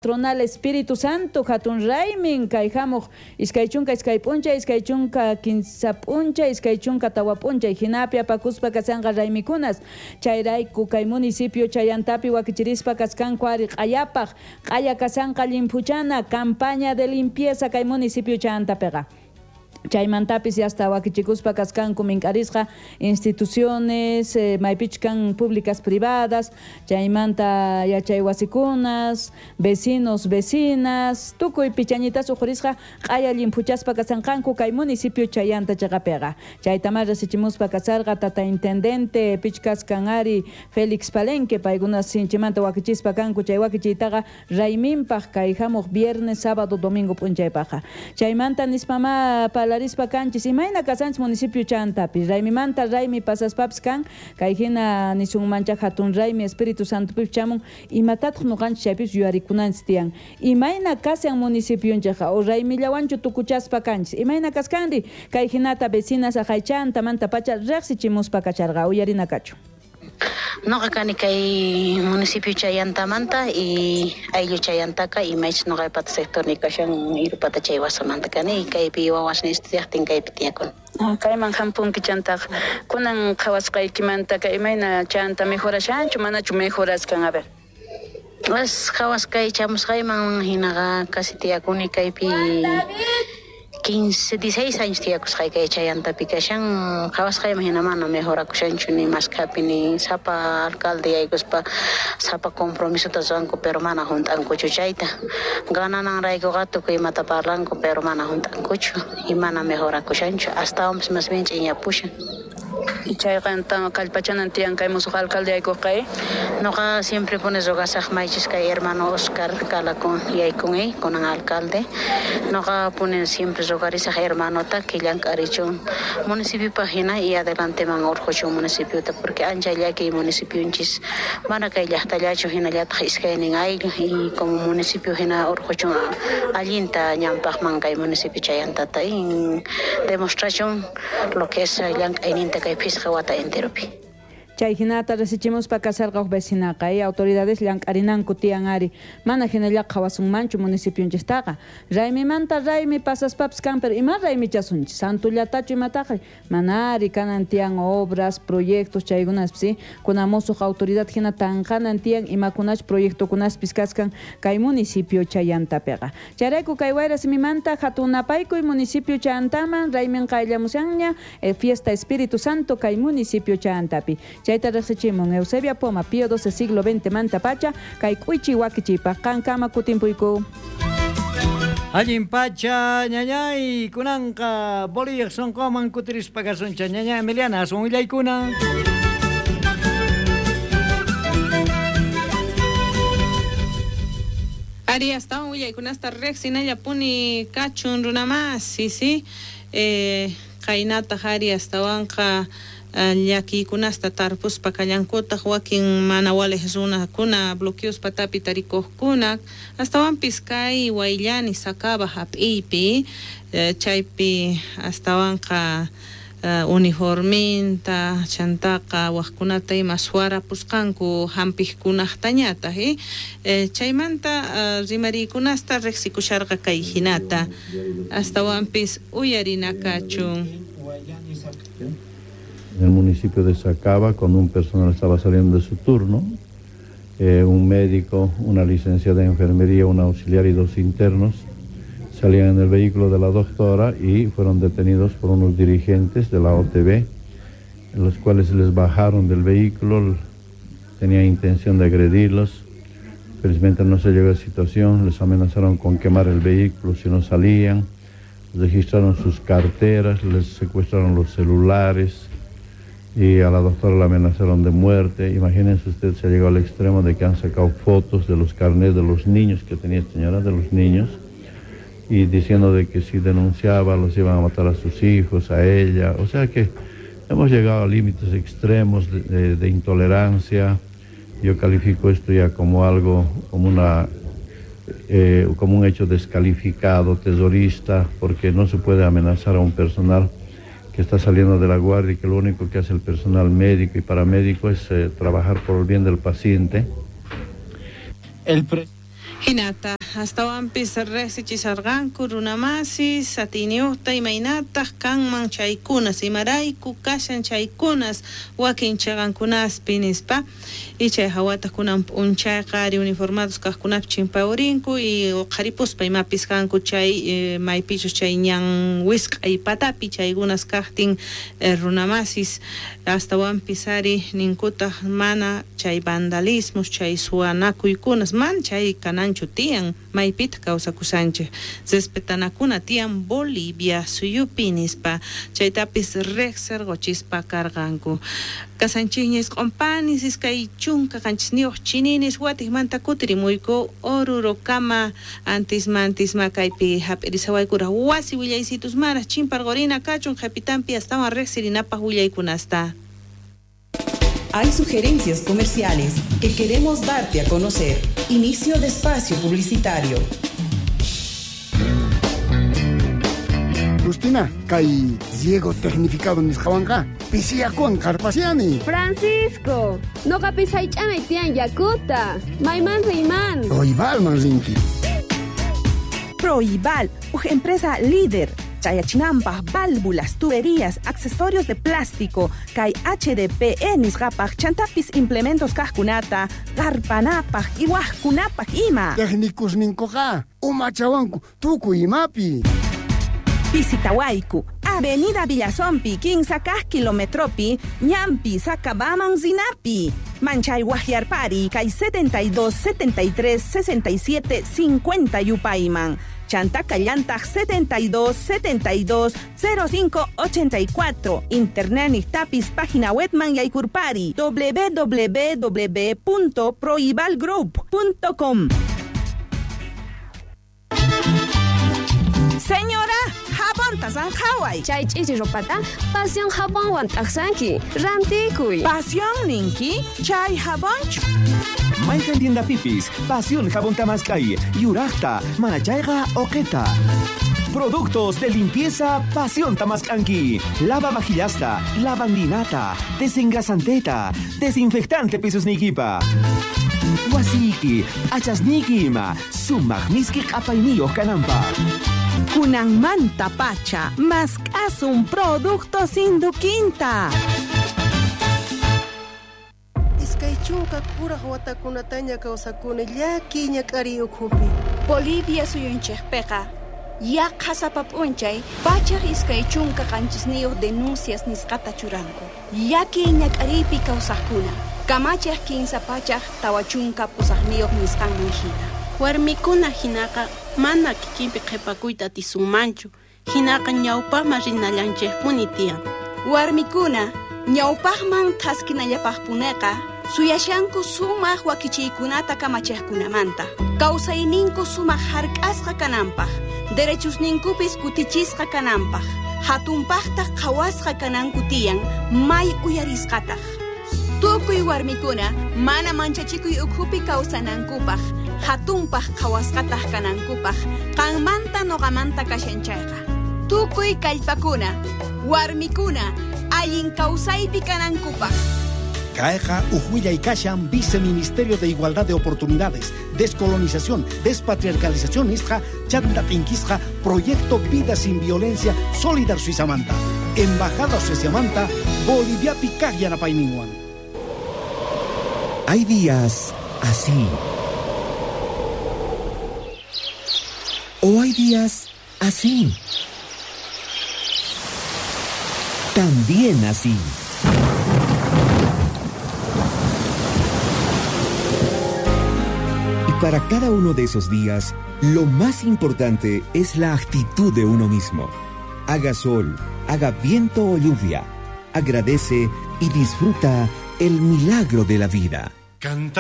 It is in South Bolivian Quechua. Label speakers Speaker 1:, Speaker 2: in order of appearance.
Speaker 1: Patronal Espíritu Santo hatun raymin kay hamuq 22 p'unchay, 23 p'unchay, 24 p'unchay hinapi apakuspa kashanqa raymikunas. Chayrayku kay municipio Chayantapi wakichirispa kaskanku ari q'ayapaq, q'aya kashanqa llimphuchana campaña de limpieza kay municipio Chayantapiqa. Chaymantapis yasta wakichikuspa kaskanku mink'arisqa instituciones, maypichus kan públicas privadas, chaymanta yachay wasikunas, vecinos, vecinas, tukuy pichañitas uqhurisqa q'aya llimphuchaspa kashanqanku kay municipio Chayanta cheqapiqa. Chaytamá resichimuspa kasharqa tata intendente pichus kaskan ari Félix Palenque, paykuna sinchimanta wakichispa kanku chay wakichiytaqa rayminpaj kay hamuq viernes, sábado, domingo p'unchaypajqa. Chaymanta nispamá parlarispa kanchis imayna kashanchis municipio Chayantapi. Raymimanta raymi pasaspapis kan, kay hina nisunmancha hatun raymi Espíritu Santopipis chamun, imatataq noqanchis chaypipis yuyarikunanchis tiyan. Imayna kashan municipionchikqa o raymillawanchu tukuchaspa kanchis. Imayna kaskanri kay hinata vecinas aqay Chayantamantapacha riqsichimuspa kacharqa uyarina kachun.
Speaker 2: Noqa kani kay municipio Chayantamanta y ayllu Chayantaka imaychus noqaypata sectorniy kashan Irupata chay wasamanta kani kaypi wawasniy estudiaqtin kaypi tiyakuni.
Speaker 1: Kayman hampunki chantaqa kunan qhawasqaykimanta kay imayna Chayanta mejorashanchu manachu mejoraskan? A ver.
Speaker 2: As qhawasqay chamusqayman hinaqa casi tiyakuni kaypi 15, 16 años tiyakusqay kay Chayantapi kashan qhawasqayman hina mana mejorakushanchu ni maskhapi ni sapa alcalde yaykuspa sapa compromisota ruwanku pero mana hunt'ankuchu chayta ganananraykuqa tukuy imata parlanku pero mana hunt'ankuchu y mana mejorakushanchu astawanpis más bien ch'inyapushan.
Speaker 1: Chayqa kallpachanan tiyan kay musuq alcalde yaykuqqa.
Speaker 2: Noqa siempre puni rogasaq maychus kay hermano Oscar Calacón yaykun kunan alcalde. Noqa puni siempre rogarisaq hermanota que llank'arichun municipiopaq hina y adelanteman urquchun municipiota porque ancha llakiy municipionchis mana kay llaqtallachu hinallataq iskaynin ayllu y como municipio hina urquchun allinta ñanpaqman kay municipio Chayantata y demostrachun lo que es llank'ayninta kay phisqa wata enteropi.
Speaker 1: Chay hinata resichimuspa kasarqa huk vecinaqa y autoridades llank'arinanku tiyan ari mana hinallaqa qhawasunmanchu municipionchistaqa. Raymimanta raymi pasaspapis kan, pero ima raymichasunchis santullatachu imataqa mana ari kanan tiyan obras, proyectos chaykunaspis, ¿sí? Kunan musuq autoridad hina tanqanan tiyan imakunach proyectokunaspis kaskan kay municipio Chayantapiqa. Chayrayku kay wayra simimanta hatun napaykuy municipio Chayantaman raymin qayllamushanña fiesta Espíritu Santo kay municipio Chayantapi. Chayta riqsichimun Eusebia Poma, Pío XII siglo XX manta pacha, kay k'uychi wakichiypaq qankama kutimpuyku.
Speaker 3: Allin pacha ñañay kunanqa boliyaq sunquman kutirispa kasuncha ñaña Emiliana aswan willaykuna.
Speaker 4: Ari astawan willaykunasta riqsinallapuni kachun runamasi, sí. Qaynataq ari astawanqa llakiykunasta tarpuspa kallankutaq wakin mana waliq runakuna bloqueos patapi tarikuqkuna astawanpis kay Wayllani Sacaba hap'iypi chaypi astawanqa uniforminta chantaqa waqkunata ima suwarapusqanku hampiqkunaqtañataq chaymanta rimariykunasta riqsikusharqa kay hinata astawanpis uyarina kachun.
Speaker 5: En el municipio de Sacaba, cuando un personal estaba saliendo de su turno, un médico, una licenciada de enfermería, un auxiliar y 2 internos salían en el vehículo de la doctora y fueron detenidos por unos dirigentes de la OTB, los cuales les bajaron del vehículo, tenían intención de agredirlos. Felizmente no se llegó a esa situación, les amenazaron con quemar el vehículo si no salían, registraron sus carteras, les secuestraron los celulares y a la doctora la amenazaron de muerte. Imagínense usted, se llegó al extremo de que han sacado fotos de los carnets de los niños que tenía esta señora, de los niños, y diciendo de que si denunciaba los iban a matar a sus hijos, a ella. O sea que hemos llegado a límites extremos de intolerancia. Yo califico esto ya como algo, como una, como un hecho descalificado, terrorista, porque no se puede amenazar a un personal que está saliendo de la guardia y que lo único que hace el personal médico y paramédico es trabajar por el bien del paciente.
Speaker 6: El
Speaker 4: Hinata astawanpis riqsichisarqanku runamasis atiyniyuqta imaynataq kanman chaykunas imarayku kashan chaykunas wakin chiqankunaspi nispa y chay hawataq kunan p'unchayqa ari uniformados kaqkunapi chimpawrinku y uqharipuspa imapis kanku chay maypichus chay ñan wisq'ay patapi chaykunas kaqtin runamasis astawanpis ari ninkutaq mana chay vandalismos chay suwanakuykunas man chay kananchu tiyan maypitaq kawsakushanchik respetanakuna tiyan Bolivia suyupi nispa chaytapis riqsirquchispa karqanku kasanchikña isq'unpanis 27 chininis watiqmanta kutirimuyku Orurokama antisma antisma kaypi hap'irisawaykuraq wasi willaysitusmaraq chimparqurina kachun qhipitanpi astawan riqsirinapaq willaykunasta.
Speaker 6: Hay sugerencias comerciales que queremos darte a conocer. Inicio de espacio publicitario.
Speaker 7: Justina, kay riego tecnificado nisqawanqa pisiyakuwan qarpasiani.
Speaker 8: Francisco, noqapis haych'anay tiyan yakuta. Mayman riyman.
Speaker 7: Proibalman rinki.
Speaker 9: Proibal, uj empresa líder. Chayachinampaj, válvulas, tuberías, accesorios de plástico, kay HDPE nisqapaj, chantapis implementos kaqkunata, qarpanapaj, iwajkunapaj ima.
Speaker 7: Técnicos ninkuqa, umachawanku, tukuy imapi.
Speaker 9: Visitawayku, Avenida Villazompi, 15 kilometropi, Ñampi, Sacabaman, Zinapi. Manchay Guajiarpari, kay 72 73 67 50 yupayman. Chanta Callantag 72 72 05 84. Internet tapis página webman yaykurpari www.proibalgroup.com. Señora, jabonta sanjaway.
Speaker 8: Chay ch'ichi ropata pasión jabonwan t'aqsanki. Rantikuy.
Speaker 9: Pasión ninki, chay jabonchu.
Speaker 10: Mayqan tienda pipis, Pasión Jabón Tamaskay, Yurajta, Manachayqa, Oqueta. Productos de limpieza Pasión Tamaskanki. Lava vajillasta, lavandinata, desengrasanteta, desinfectante pisusnikipa. Wasiki, achasniki ima, sumaq miski q'apayniyuq kananpaq.
Speaker 9: Kunanmanta pacha, mask'asun productos Induquinta.
Speaker 11: Iskay chunka kuraq watakunataña kawsakuni llaki ñak'ariy ukhupi.
Speaker 12: Bolivia suyunchikpiqa yaqha sapa p'unchay 127 denuncias nisqata churanku. Llaki ñak'ariypi kawsaqkuna kamachiq 348 nisqanman hina.
Speaker 13: Warmikuna hinaqa mana kikinpi qhipakuyta atisunmanchu, hinaqa ñawpaqman rinallanchikpuni tiyan.
Speaker 12: Warmikuna ñawpaqman thaskinallapaqpuneqa suyashanku sumaq wakichiykunata kamachiqkunamanta. Kawsayninku sumaq hark'asqa kananpaq, derechusninkupis kutichisqa kananpaq, hatunpaqtaq qhawasqa kananku tiyan may uyarisqataq. Tukuy warmikuna mana manchachikuy ukhupi kawsanankupaq, hatunpaq qhawasqataq kanankupaq, qanmanta noqamanta kashan chayqa. Tukuy kallpakuna, warmikuna, allin kawsaypi kanankupaq.
Speaker 14: Caeja, Ujuilla y Kashan, Viceministerio de Igualdad de Oportunidades, Descolonización, Despatriarcalización, Isja, Chanta Tinquisja, Proyecto Vida Sin Violencia, Solidar Suizamanta, Embajada Suizamanta, Bolivia Picajiana Paininguan.
Speaker 10: Hay días así. O hay días así. También así. Y para cada uno de esos días, lo más importante es la actitud de uno mismo. Haga sol, haga viento o lluvia. Agradece y disfruta el milagro de la vida.
Speaker 15: Cantando.